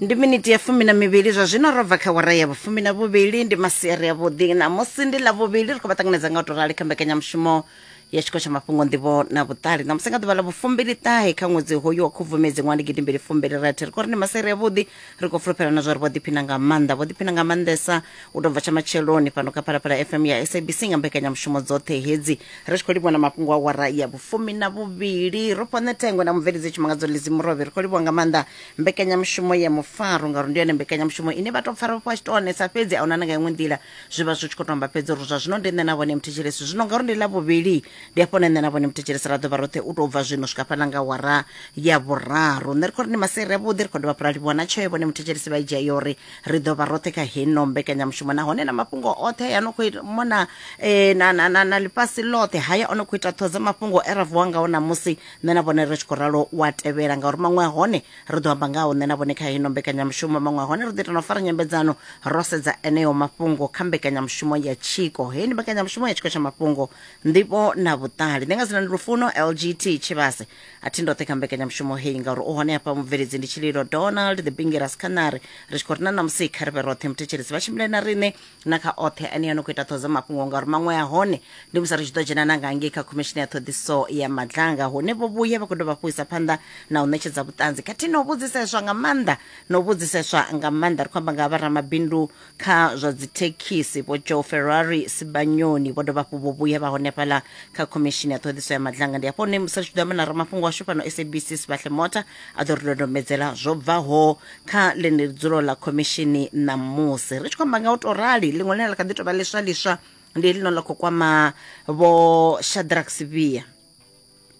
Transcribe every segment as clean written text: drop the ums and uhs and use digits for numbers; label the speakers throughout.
Speaker 1: Ndi miniti ya fumi na mivhili zwa zwino ro bva kha wara ya vhufumi na vhuvhili. Ndi masiari avhuḓi, ṋamusi ndi ḽa vhuvhili, ri khou vha ṱanganedza nga u tou rali kha mbekanyamushumo ya tshiko tsha mafhungo, nḓivho na vhuṱali. Ṋamusi nga ḓuvha ḽa vhufumbili ṱahe kha ṅwedzi hoyu wa Khubvumedzi ṅwaha ndi gidimbili fumbili rathi, ri khou ri ndi masiari avhuḓi. Ri khou fulufhela na zwa uri vho ḓiphina nga maanḓa, vho ḓiphina nga maanḓesa u tou bva tsha matsheloni fhano kha Phalaphala FM ya SABC nga mbekanyamushumo dzoṱhe hedzi. Ri tshi khou livhuwa na mafhungo a wara ya vhufumi na vhuvhili, ro fhiwa ṋethengwe na mubveledzi Tshimangadzo Lizzy Murovhi. Ri khou livhuwa nga maanḓa mbekanyamushumo ya mufaro, ngauri ndi yone mbekanyamushumo ine vha tou pfa ro fhiwa tshitoonesa, fhedzi ahuna na nga iṅwe nḓila zwi vha zwi tshi khou tou amba fhedzi uri zwa zwino ndi nṋe na vhone muthetshelesi. Zwino ngauri ndi ḽa vhuvhili, ndi hafho hune nṋe na vhone muthetshelesi ra ḓo vha roṱhe u tou bva zwino swika fhaḽa nga wara ya vhuraru. Nṋe ri khou ri ndi masiari avhuḓi, ri khou dovha hafhu ra livhuwa na tsheo vhone muthetshelesi vha i dzhia ya uri ri ḓo vha roṱhe kha heno mbekanyamushumo, nahone na mafhungo oṱhe a no khou mona na, na, na, na ḽifhasi ḽoṱhe haya o no khou ita ṱhoho dza mafhungo e ra vuwa ngao ṋamusi, nṋe na vhone ri tshi khou ralo wa tevhela, ngauri maṅwe a hone ri ḓo amba ngaho nṋe na vhone kha hino mbekanyamushumo, maṅwe a hone ri ḓo ita na u fara nyambedzano ro sedza eneo mafhungo kha mbekanyamushumo ya tshiko. Heyi ndi mbekanyamushumo ya tshiko tsha mafhungo, nḓivho na vhuṱali. Nṋe nga dzina ndi Lufuno LGT Tshivhase, a thi ndoṱhe kha mbekanyamushumo heyi ngauri u hone hafha mubveledzi ndi Tshililo Donald the Bingiras Khanari. Ri tshi khou ri na ṋamusi kha ri vhe roṱhe muthetshelesi, vha tshimbile na riṋe na kha oṱhe ane a no khou ita ṱhoho dza mafhungo, ngauri maṅwe a hone ndi musi ri tshi ḓo dzhena na nga ngei kha khomishini ya ṱhoḓiso ya Madlanga, hune vho vhuya vha khou dovha hafhu isa phanḓa na u ṋetshedza vhuṱanzi khathihi na u vhudziseswa nga maanḓa na u vhudziseswa nga maanḓa. Ri khou amba nga vharamabindu kha zwa dzithekhisi Vho Joe Ferrari Sibanyoni, vho dovha hafhu vho vhuya vha hone fhaḽa kha khomishini ya ṱhoḓiso ya Madlanga. Ndi hafho hune musi ri tshi ḓo amba na ramafhungo washu fhano SABC Sibahle Mota, a ḓo ri dodombedzela zwo bvaho kha ḽeneḽi dzulo ḽa khomishini ṋamusi. Ri tshi khou amba nga u tou rali, ḽiṅwe ḽine ḽa kha ḓi tou vha ḽiswa ḽiswa ndi heḽino ḽa khou kwama Vho Shadrack Sibiya,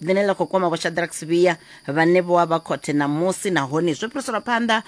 Speaker 1: ḽine ḽa khou kwama Vho Shadrack Sibiya vhane vho vha khothe ṋamusi, nahone zwo fhiriselwa phanḓa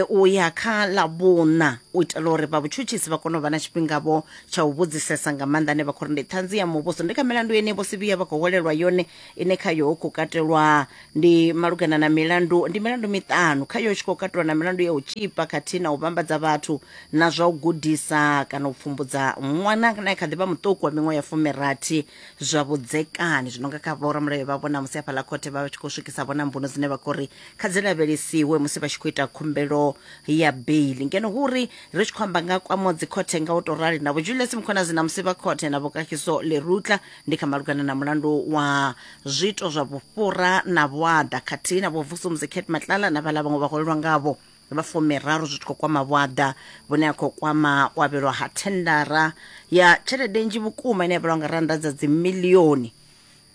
Speaker 1: u ya kha ḽa vhuṋa u itela uri vha vhutshutshisi vha kone u vha na tshifhingavho tsha u vhudzisesa nga maanḓa ane vha khou ri ndi ṱhanzi ya muvhuso. Ndi kha milandu yeneyi Vho Sibiya vha khou hwelelwa yone, ine khayo hu khou katelwa ndi malugana na milandu, ndi milandu miṱanu khayo hu tshi khou katelwa na milandu ya u tshipa khathihi na u vhambadza vhathu na zwa u gudisa kana u pfumbudza ṅwana na kha ḓi vha muṱuku wa miṅwaha ya 60 zwa vhudzekani. Zwino nga kha vhoramulayo vha vhona musi hafhaḽa khothe vha tshi khou swikisa vhona mbuno dzine vha khou ri kha dzi lavhelesiwe musi vha tshi khou ita khumbelo ya beili, ngeno hu uri ri tshi khou amba nga kwamo dzikhothe nga u tou rali na Vho Julius Mkhwanazi na musi vha khothe na Vho Kagiso Lerutla ndi kha malugana na mulandu wa zwiito zwa vhufhura na vhuaḓa khathihi na Vho Vusumuzi Cat Matlala na vhaḽa vhaṅwe vha hwelelwa ngavho vha fumiraru zwi tshi khou kwama vhuaḓa vhune ha khou kwama u avhelwa ha thendara ya tshelede nnzhi vhukuma ine ya vhalwa nga rannda dza dzimilioni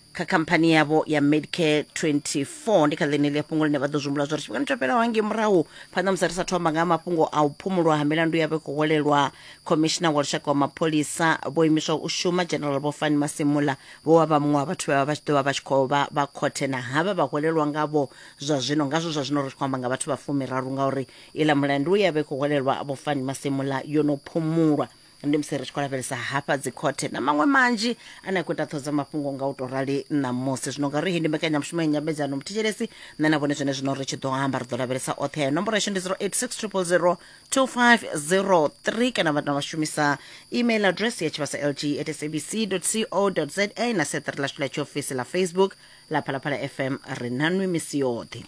Speaker 1: kha khamphani yavho ya Medicare 24. Ndi kha ḽeneḽi fhungo ḽine vha ḓo zwi humbula zwa uri tshifhingani tsho fhelaho hangei murahu phanḓa musi ri sa thoma nga mafhungo a u phumulwa ha milandu yavho i khou hwelelwa Khomishina wa Lushaka wa Mapholisa vho imiswa u shuma General Vho Fani Masimula, vho vha vha muṅwe wa vhathu vhe vha vha tshi ḓo vha vha tshi khou vha vha khothe na havha vha hwelelwa ngavho zwa zwino. Ngazwo zwa zwino ri tshi khou amba nga vhathu vha fumiraru ngauri iḽa mulandu ye ya vha i khou hwelelwa Vho Fani Masimula yo no phumulwa. Ndi musi ri tshi khou lavhelesa hafha dzikhothe na maṅwe manzhi ane a khou ita ṱhoho dza mafhungo nga u tou rali ṋamusi. Zwino ngauri heyi ndi mbekanyamushumo ya nyambedzano, muthetshelesi, nṋe na vhone zwene zwino ri tshi ḓo amba ri ḓo lavhelesa oṱhe ayo. Nomboro yashu ndi 086 000 2503 kana vha vha shumisa email address ya tshivhasa lg at sabc co za na seṱari lashu ḽa tshiofisi ḽa Facebook ḽa Phalaphala FM. Ri na nwi misi yoṱhe.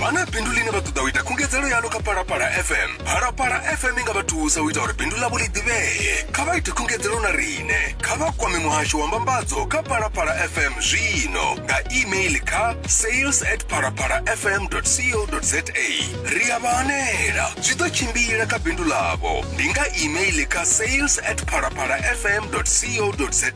Speaker 2: Vha na bindu ḽine vha ṱoḓa u ita khungedzelo yaḽo kha Phalaphala FM? Phalaphala FM i nga vha thusa u ita uri bindu ḽavho ḽi ḓivhee. Kha vha ite khungedzelo na riṋe. Kha vha kwame muhasho wa mbambadzo kha Phalaphala FM zwino nga email kha sales at phalaphalafm co za. Ri a vha hanela, zwi ḓo tshimbila kha bindu ḽavho. Ndi nga email kha sales at phalaphalafm co za.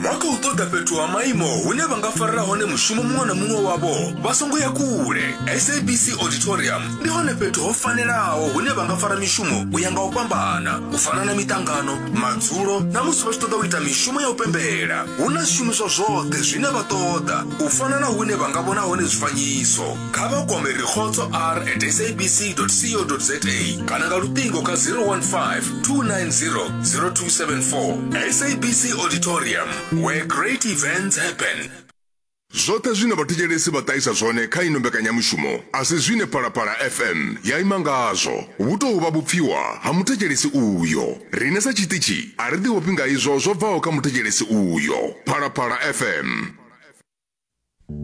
Speaker 2: Vha khou ṱoḓa fhethu ha maimo hune vha nga farela hone mushumo muṅwe na muṅwe wavho? Vha songo ya kule. SABC Auditorium ndi hone fhethu ho fanelaho hune vha nga fara mishumo u ya nga u fhambana, u fana na miṱangano, madzulo na musi vha tshi ṱoḓa u ita mishumo ya u pembela. Hu na zwishumiswa zwoṱhe zwine vha ṱoḓa, u fana na hune vha nga vhona hone zwifanyiso. Kha vha kwame Rikhotso R at sabc co za kana nga luṱingo kha 015 290 0274. SABC Auditorium, where great events happen. Zwoṱhe zwine vhathetshelesi vha ṱahisa zwone kha ino mbekanyamushumo a si zwine Phalaphala FM ya ima ngazwo. Vhu tou vha vhupfiwa ha muthetshelesi uyo. Riṋe sa tshiṱitshi a ri ḓiofhi nga izwo zwo bvaho kha muthetshelesi uyo. Phalaphala FM.